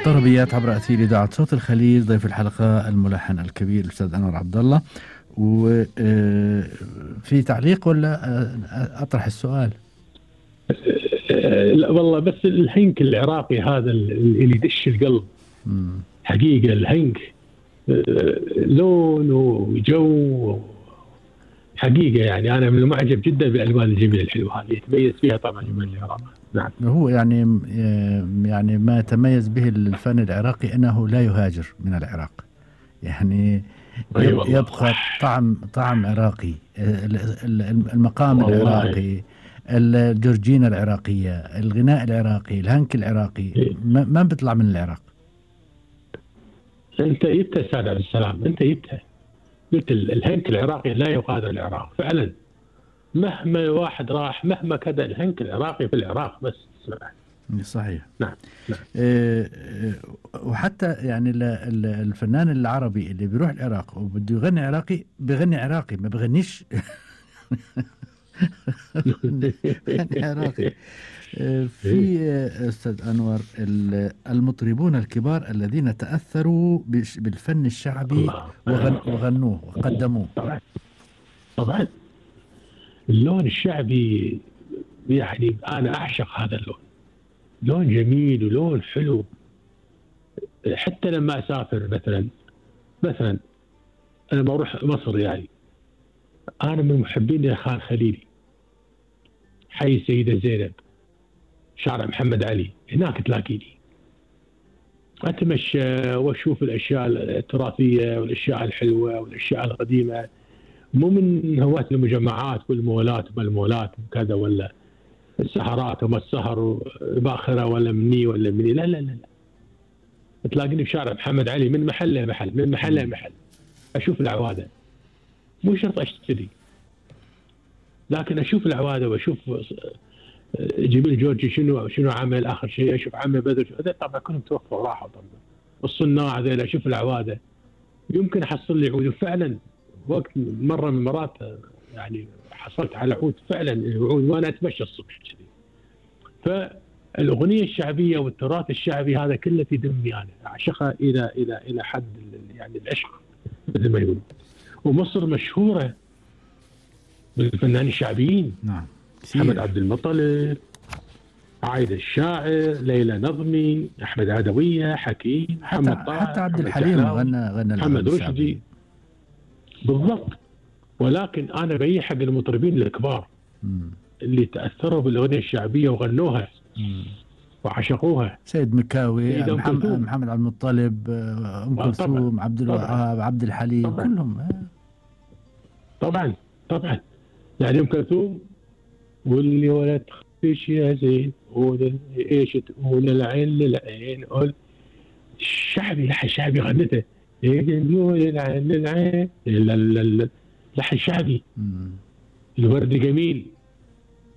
طربيات عبر أثير إذاعة صوت الخليج. ضيف الحلقة الملحن الكبير الأستاذ أنور عبد الله. وفي تعليق ولا أطرح السؤال؟ لا والله، بس الهنك العراقي هذا اللي يدش القلب. حقيقة الهنك لون وجو حقيقة، يعني أنا من المعجب جدا بالألوان الجميلة الحلوة هذه يتميز فيها طبعا جمال العراق. نعم، هو يعني ما يتميز به الفن العراقي أنه لا يهاجر من العراق، يعني يبقى طعم عراقي، المقام العراقي، الجورجينا العراقية، الغناء العراقي، الهنك العراقي ما بيطلع من العراق. أنت جبتها أستاذ عبد السلام، أنت جبتها، قلت الهنك العراقي لا يغادر العراق فعلا. مهما واحد راح، مهما كذا، الهنك العراقي في العراق بس. صحيح. نعم. وحتى يعني الفنان العربي اللي بيروح العراق وبده يغني عراقي بيغني عراقي، ما بيغنيش عراقي. في أستاذ أنور المطربون الكبار الذين تأثروا بالفن الشعبي وغنوه وقدموه. طبعا اللون الشعبي يعني أنا أعشق هذا اللون، لون جميل ولون حلو. حتى لما أسافر مثلا أنا بروح مصر، يعني أنا من محبين خان خليلي، حي السيدة زينب، شارع محمد علي، هناك تلاقيني أتمشى وأشوف الأشياء التراثية والأشياء الحلوة والأشياء القديمة. مو من هواة المجمعات والمولات والمولات وكذا، ولا السهرات وما السهر باخرة ولا مني ولا مني، لا لا لا، تلاقيني في شارع محمد علي من محل لمحل، من محل لمحل، أشوف العوادة. مو شرط أشتري، لكن أشوف العوادة وأشوف جميل جورجي شنو عمل آخر شيء، أشوف عمه بدر، هذا طبعا كلهم توفوا وراحوا طبعا. والصناع هذول أشوف العوادة، يمكن أحصل لي عود. وفعلا وقت مرة من المرات يعني حصلت على عود فعلا العود وأنا أتمشى الصبح كذي. فالأغنية الشعبية والتراث الشعبي هذا كله في دمي، أنا أعشقها إلى حد يعني العشق مثل ما يقولون. ومصر مشهورة بالفنانين الشعبيين. نعم، محمد عبد المطلب، عايدة الشاعر، ليلى نظمي، أحمد عدوية، حكيم، محمد طه، حتى عبد الحليم غنى محمد رشدي. بالضبط. ولكن أنا بيي حق المطربين الكبار اللي تأثروا بالأغنية الشعبية وغنوها وعشقوها. سيد مكاوي، محمد عبد المطلب، أم كلثوم، عبد الوهاب، عبد الحليم، كلهم. طبعا يعني أم كلثوم، واللي ولا تخفيش يا زين، ايش تقول العين للعين، قول الشعبي، لحن شعبي غنته، يقول العين للعين، لحن شعبي. الورد جميل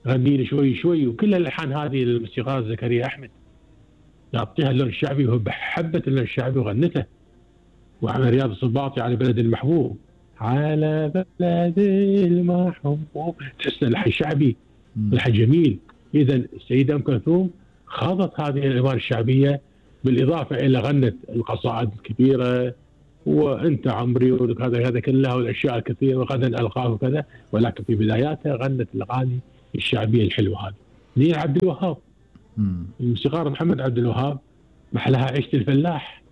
غني لي شوي شوي، وكل الالحان هذه الموسيقار زكريا احمد يعطيها اللون الشعبي، وهو بحبت اللون الشعبي وغنته. وعمل رياض السنباطي على بلد المحبوب، على بلد المحبوب، تحس لحن شعبي، لحن جميل. اذا السيده ام كلثوم خاضت هذه الالوان الشعبيه، بالاضافه الى غنت القصائد الكبيره، وانت عمري وهذا كلها والاشياء الكثيره، وغنى الالقاب وكذا. ولكن في بداياتها غنت الاغاني الشعبيه الحلوه هذه. نيل عبد الوهاب، الموسيقار محمد عبد الوهاب، محلها عيشه الفلاح،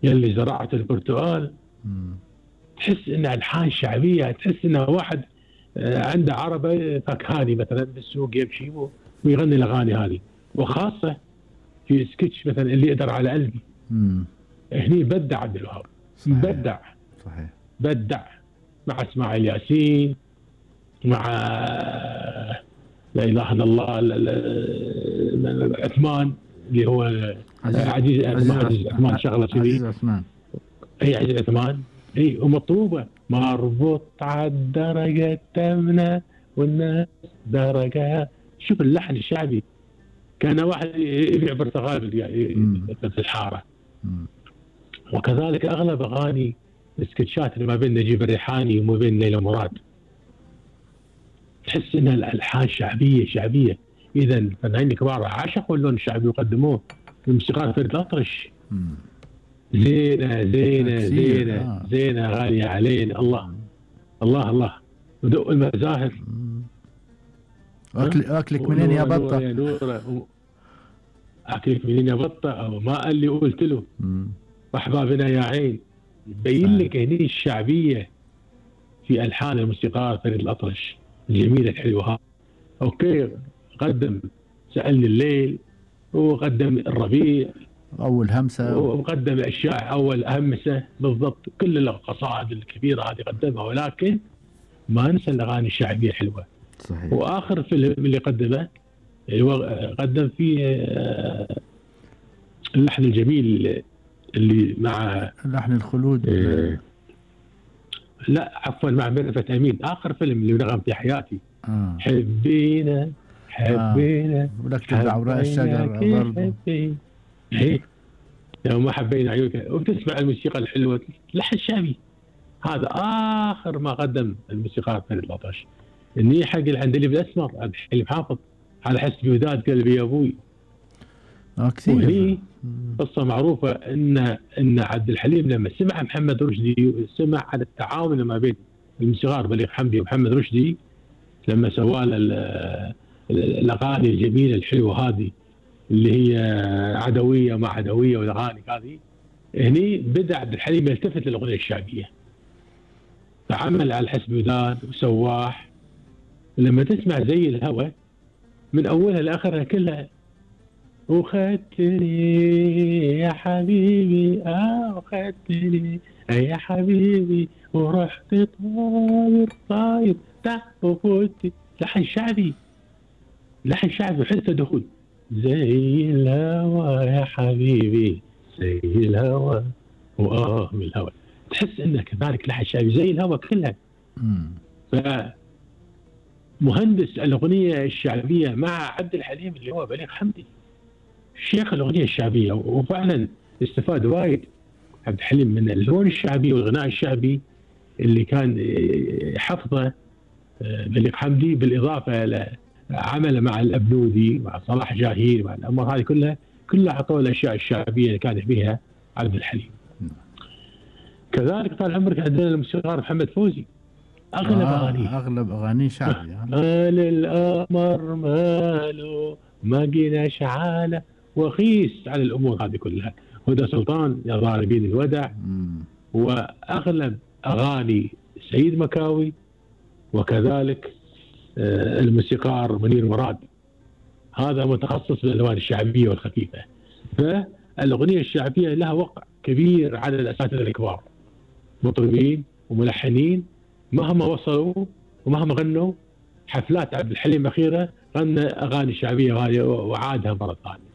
يلي زرعت البرتقال. تحس انها الحان شعبيه، تحس انه واحد عنده عربه فكهاني مثلا بالسوق يمشي ويغني الاغاني هذه. وخاصه في سكتش مثلا اللي يقدر على قلبي، هني بدع عبد الوهاب، بدع صحيح، بدع مع اسماعيل ياسين، مع لا اله الا الله عثمان اللي هو عزيز عثمان، شغله كذي، عزيز عثمان، اي عزيز عثمان، اي. ومطلوبه مربوط على الدرجه الثامنه والناس درجه. شوف اللحن الشعبي، كان واحد يبيع برتقال في الحاره. وكذلك اغلب اغاني السكتشات اللي ما بين نجيب الريحاني وما بين ليلى مراد، تحس انها الالحان شعبيه. اذا الفنانين الكبار عشقوا اللون الشعبي وقدموه. الموسيقار فريد الأطرش. زينة زينة زينة زينة غالية علينا. الله الله الله. ودق المزاهر. أكلك منين يا بطة؟ أكلك منين يا بطة، أو ما قال لي قلت له. وأحبابنا يا عين. يبين لك هني الشعبية في ألحان الموسيقار فريد الأطرش الجميلة الحلوة. أوكي، قدم سألني الليل، وقدم الربيع أول همسة، وقدم أشياء أول همسة بالضبط. كل القصائد الكبيرة هذه قدمها، ولكن ما ننسى الأغاني الشعبية الحلوة. صحيح. وآخر فيلم اللي قدمه قدم فيه اللحن الجميل اللي مع لحن الخلود. لا عفوا، مع ميرفت أمين. آخر فيلم اللي نغم في حياتي. حبينا حبينا ولك عوراء الشجر برضه. لو ما حبينا عيونك، وتسمع الموسيقى الحلوة، لحن شعبي. هذا آخر ما قدم الموسيقار فريد الأطرش. إني حق العندليب الأسمر عبد الحليم حافظ، على حسب وداد قلبي يا أبوي. كثير. قصة معروفة إن عبد الحليم لما سمع محمد رشدي، وسمع على التعاون ما بين الموسيقار بليغ حمدي ومحمد رشدي لما سوى الأغاني الجميلة الحلوة هذه اللي هي عدوية مع عدوية والأغاني هذه، هني بدأ عبد الحليم يلتفت للأغنية الشعبية، فعمل على حسب وداد وسواح. لما تسمع زي الهوى من أولها لآخرها كلها، وخدتني يا حبيبي وخدتني يا حبيبي ورحت طاير طاير وفوتي. لحن شعبي، لحن شعبي وحسه دخول. زي الهوى يا حبيبي زي الهوى من الهوى، تحس انك كذلك لحن شعبي زي الهوى كلها. فمهندس الأغنية الشعبية مع عبد الحليم اللي هو بليغ حمدي، شيخ الأغنية الشعبية. وفعلا استفاد وايد عبد الحليم من اللون الشعبي والغناء الشعبي اللي كان حفظه بليغ حمدي، بالإضافة إلى عمله مع الأبنودي مع صلاح جاهين مع الأمور هذه كلها عطوا الأشياء الشعبية اللي كان بها عبد الحليم. كذلك طال عمرك عندنا الموسيقار محمد فوزي، أغلب أغانيه شعبي. قال القمر ماله ما جينا شعالة وخيس على الأمور هذه كلها. هدى سلطان يا ضاربين الودع، وأغلب أغاني سيد مكاوي، وكذلك الموسيقار منير مراد، هذا متخصص بالألوان الشعبية والخفيفة. فالأغنية الشعبية لها وقع كبير على الأساتذة الكبار، مطربين وملحنين مهما وصلوا ومهما غنوا. حفلات عبد الحليم أخيرة غنى أغاني شعبية وعادها مرة ثانية.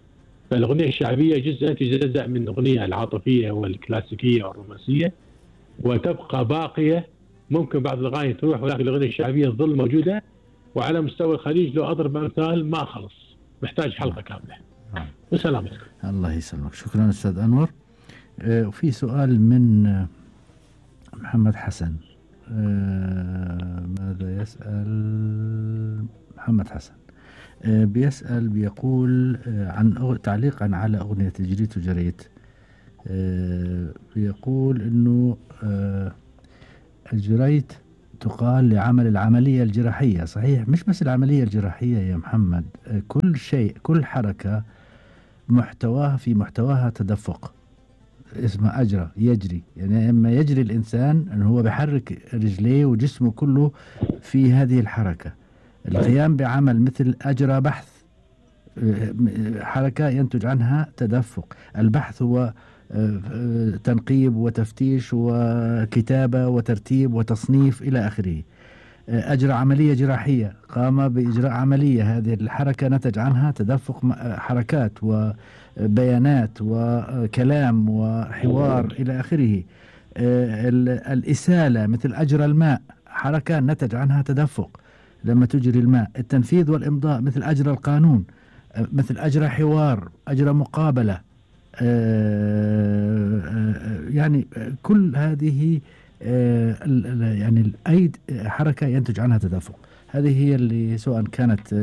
فالأغنية الشعبية تجزء من الأغنية العاطفية والكلاسيكية والرومانسية، وتبقى باقية. ممكن بعض الأغاني تروح، ولكن الأغنية الشعبية تظل موجودة. وعلى مستوى الخليج لو أضرب أمثال ما خلص، محتاج حلقة كاملة. وسلامتك. الله يسلمك. شكرا أستاذ أنور. وفي سؤال من محمد حسن. ماذا يسأل محمد حسن؟ بيسأل بيقول عن تعليقا على أغنية جريت وجريت. بيقول إنه الجريت تقال لعمل العملية الجراحية، صحيح؟ مش بس العملية الجراحية يا محمد، كل شيء، كل حركة محتواها تدفق، اسمه أجرى، يجري. يعني لما يجري الإنسان أنه هو بيحرك رجليه وجسمه كله في هذه الحركة. القيام بعمل مثل أجرى بحث، حركة ينتج عنها تدفق. البحث هو تنقيب وتفتيش وكتابة وترتيب وتصنيف إلى آخره. أجرى عملية جراحية، قام بإجراء عملية، هذه الحركة نتج عنها تدفق حركات وبيانات وكلام وحوار إلى آخره. الإسالة مثل أجرى الماء، حركة نتج عنها تدفق لما تجري الماء. التنفيذ والإمضاء مثل أجرى القانون، مثل أجرى حوار، أجرى مقابلة. يعني كل هذه يعني أي حركة ينتج عنها تدفق. هذه هي اللي سواء كانت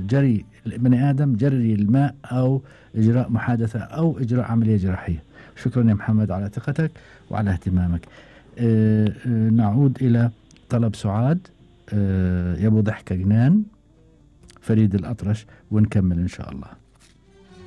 جري بني آدم، جري الماء، أو إجراء محادثة أو إجراء عملية جراحية. شكرا يا محمد على ثقتك وعلى اهتمامك. نعود إلى طلب سعاد، يا أبو ضحكة جنان، فريد الأطرش، ونكمل إن شاء الله.